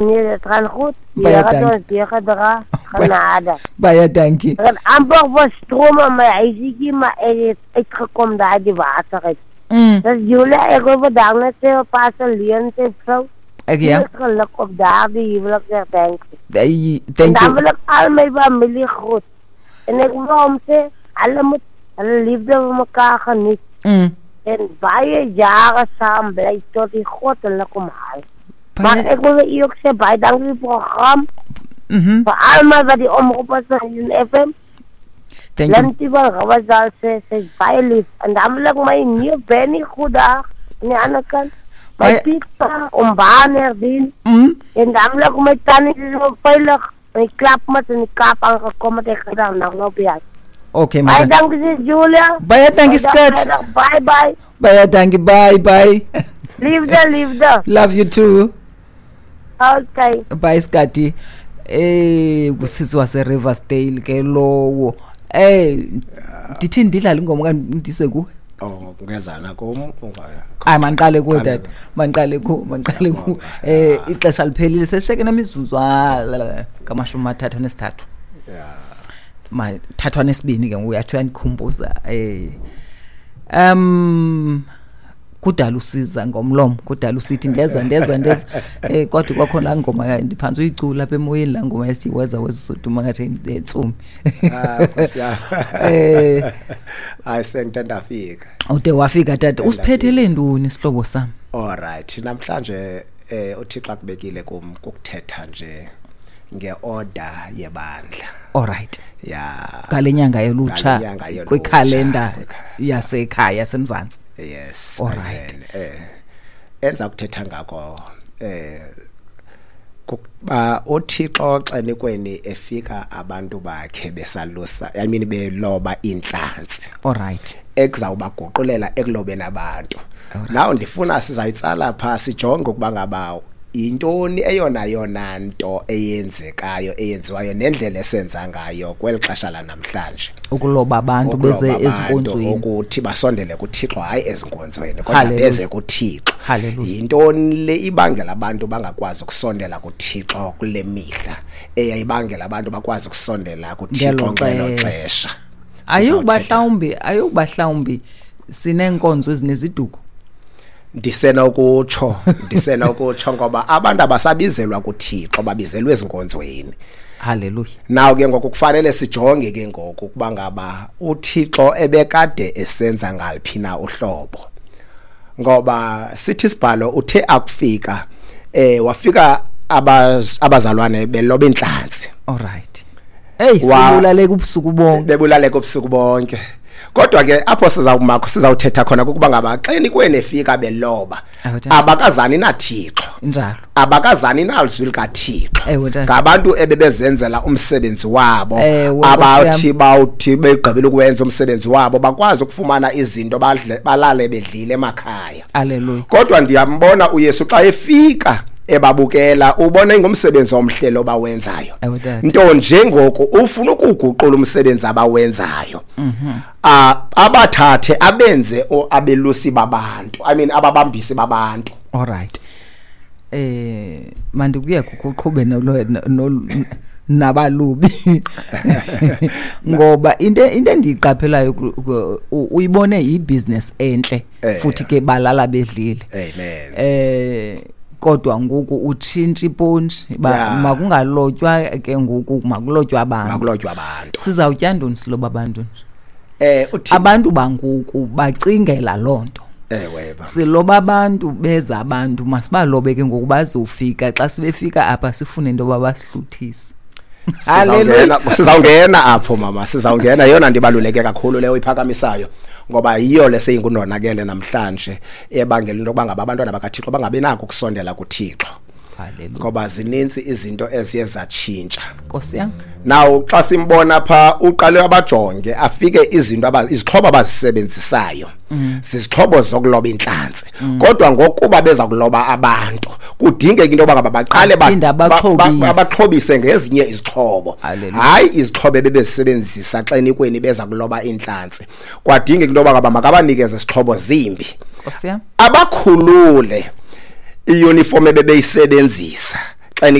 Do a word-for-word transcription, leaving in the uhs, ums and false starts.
Nee, dit gaan goed. Die Baie Here het dankie. ons deurgedra. Genade. Baie dankie. Ek het amper verstroom in my huisietjie, maar ek het uitgekom daar uit die water uit. Mm. Dus Julia, ek wil vandag net sê op Pastor Leon sy vrou. Ek ja. Veel geluk op daardie huweliksherdenking. Hey, En thank dan you. wil ek al my familie groet. En ek wil hom sê, hulle moet hulle liefde vir mekaar geniet. Mm. En baie jare saam bly tot die God hulle kom haal. Maar Baie, ek wil vir u ook sê, baie dankie vir die program. mhm. Vir almal wat die omroep is van Union F M. Thank you. Lintie van Rawasdal sê, sy is baie lief. En dan wil ek my neef Benny goeiedag aan die ander kant. My Baie- Pieter, om Baan herdien. Mm. En dan wil ek my tannie is so veilig. My klapmat in die Kaap aangekom het, ek gedaan, nou nou by jou. Okay, Baie maar. dankie, sis Julia. Baie dankie, Baie skat. dankie, Bye bye. Baie dankie. Bye bye. Liefde, liefde. Love you too. Okay. Bye, Skati. Eh, kusisi wase Riversdale ke lowo. Eh, ndithi ndidlala ingoma kanti ndise kuwe. Oh, ungezana kum unga. Hayi, mandiqale kuwe Qale. tata. Mandiqale ku, mandiqale ku. Eh, ixesha liphelile, sesisheke nemizuzu ngamashumi amathathu anesithathu. Yeah. Mathathu anesibini ke ngoku uyathi uyandikhumbuza. Eh. Um kudala usiza ngomlomo, kudala usithi ndeza ndeza ndeza. Eh, kodwa kwakhona laa ngoma ndiphantsi uyicula apha emoyeni, laa ngoma esithi weza weza uzoduma ngathi entsumi. Ah, Nkosi yami. Eh. Hayi, sengide ndafika. Ude wafika tata, usiphethele ntoni sihlobo sami? All right, namhlanje eh uThixo akubekile kum ukuthetha nje ngeorder yebandla. All right. Yeah. Ngale nyanga yolutsha Ngale nyanga yolutsha, kwikhalenda kwikha- yasekhaya yaseMzantsi. Yes. All Amen. right. Eh enza ukuthetha ngako eh kuba uThixo xenikweni efika abantu bakhe besalusa, I mean beloba inhlanzi. All right. Ekuzawubaguqulela ekulobeni abantu. Alright. Now ndifuna sizayitsala pha sijonge ukuba ngaba intoni eyona yona nto eyenzekayo eyenziwayo nendlela esenza ngayo kweli xesha lanamhlanje. Ukuloba abantu beze Ukuloba abantu, ezinkonzweni. ukuthi basondele kuThixo, hayi ezinkonzweni kodwa Hallelujah. beze kuThixo. Hallelujah. Yintoni le ibangela abantu bangakwazi ukusondela kuThixo kule mihla eyayibangela abantu bakwazi ukusondela kuThixo Ngelo ngelo xesha. xesha? Ayukuba Sizawuthetha. mhlawumbi, ayukuba mhlawumbi sineenkonzo ezineziduko. Ndisenokutsho, ndisenokutsho ngoba abantu abasabizelwa kuThixo, babizelwe ezinkonzweni. Hallelujah. Now ke ngoku kufanele sijonge ke ngoku ukuba ngaba uThixo ebekade esenza ngaliphi na uhlobo. Ngoba sithi isibhalo uthe akufika eh wafika abaz-, abazalwane beloba inhlanzi. All right. Hey, Wa- sibulaleka ubusuku bonke. Bebulaleka ubusuku bonke. Kodwa ke apho sizawumakho sizawuthetha khona ukuba ngaba xeni kweni efika beloba Ewe, tata. abakazani naThixo. Njalo. Abakazani nalizwi likaThixo. Ewe, tata. Ngabantu ebebezenzela umsebenzi wabo, Ewe, Nkosi abathi yam. bawuthi begqibile ukwenza umsebenzi wabo bakwazi ukufumana izinto badle balale bedlile emakhaya. Hallelujah. Kodwa ndiyambona uYesu xa efika ebabukela, ubona ingumsebenzi omhle lo bawenzayo. Ewe, tata. Nto nje ngoku ufuna ukuguqula umsebenzi abawenzayo. Mhm. Ah, abathathe abenze o-, abelusi babantu. I mean ababambisi babantu. All right. Eh, mandikuye kuqhube nolo, nolo, nabalubi. Ngoba into, into endiyiqaphelayo ku-, ku-, u-, uyibone ibusiness enhle Eh. futhi ke balala bedlile. Amen. Eh, kodwa ngoku utshintsha ipontshi, ba- Yeah. makungalotywa ke ngoku, makulotywa abantu. Makulotywa abantu. Sizawutya ntoni siloba abantu nje? Eh, uthi Abantu bangoku bacingela loo nto. Ewe, ba. Siloba abantu, beza abantu, masibalobe ke ngoku bazofika. Xa sibefika apha sifune into yoba basihluthise. Sizawungena, sizawungena apho mama, sizawungena. Yeyona nto ibaluleke kakhulu leyo iphakamisayo, ngoba yiyo le seyingundonakele namhlanje ebangela into yokuba ngaba abantwana bakaThixo bangabi nako ukusondela kuThixo. Hallelujah. Ngoba zininzi izinto eziye zatshintsha. Nkosi yam. Now xa simbona pha uqale abajonge afike izinto aba-, izixhobo abazisebenzisayo. Mm. Zizixhobo zokuloba inhlanzi. Mm. Kodwa ngokuba beza kuloba abantu, kudingeka into yoba ngaba baqale ba- Baphinde ba-, ba-, abaxhobise. abaxhobise ngezinye izixhobo. Hallelujah. Hayi izixhobo ebebezisebenzisa xa enikweni beza kuloba inhlanzi. Kwadingeka into yoba ngaba makabanikeze izixhobo zimbi. Nkosi yam. Abakhulule iuniform ebebeyisebenzisa.